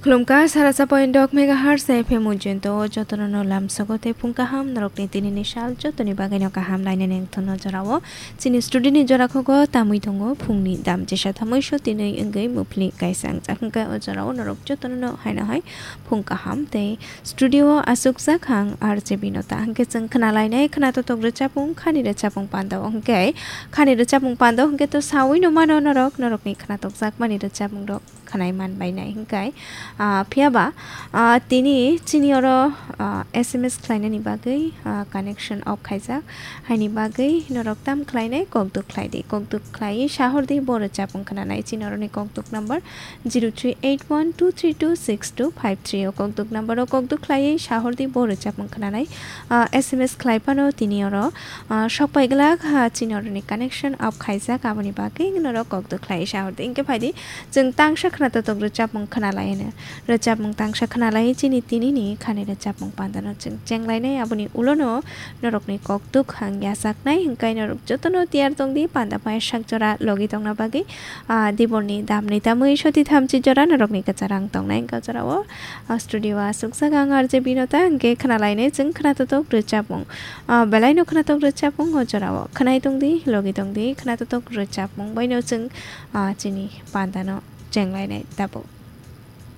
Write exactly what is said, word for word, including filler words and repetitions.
Khulumkha, sara sa point dok megahertz F M ujento o jotono no lamsogo tei phung kaham norokni tinini sal jotoni bagwino kaham lainani wngthokno jorao. Chini studio ni jora khogo tamwi tongo phungni dam jesa thamwi so tinwi wngwi muphli kaisa wngjak hwnkhe o jorao norok jotono no haino hai phung kaham tei studio o aswkjak ang R J Binota hwnkhe chwng khna lainai khna totok rwchapung khani rwchapung pando hwnkhe khani rwchapung pando hwnkhe to sawi no mano norok norokni khna tokjakmani rwchapung rok khwnai man bainai hwnkhe, ah, phiya ba, ah, tini chini oro, ah, S M S khlainani bagwi, ah, connection off khaijak, haini bagwi norok tam khlainai kokduk khlai di, kokduk khlaiwi sahor di bo rwchapung khwnanai chini oroni kokduk number zero three eight one two three two six two five three o kokduk number o kokduk khlaiwi sahor di bo rwchapung khwnanai, ah, S M S khlai phano tini oro, ah, sok pai glak, ah, chini oroni connection off khaijak aboni bagwi norok kokduk khlaiwi sahor di hwnkhe phai di. Chwng tangsa khwna totok rwchapmung khwna lai hwno. Rwchapmung tangsa khwna lai chini tinini khani rwchapmung pandano chwng chenglainai aboni ulono norokni kokduk hang yachaknai hwnkhe norok jotono tiyar tongdi panda phai sak jora logi tongna bagwi, ah, diborni damni tamwi soti thamchi jora norokni kwchar ang tongnai hwnkhe jorao, ah, studio o aswkjak ang R J Binota hwnkhe khwna lainai chwng khwna totok rwchapmung, ah, belaino khwna totok rwchapmung o jorao khwnai tongdi logi tongdi khwna totok rwchapmung baino chwng, ah, chini pandano chenglainai tabuk.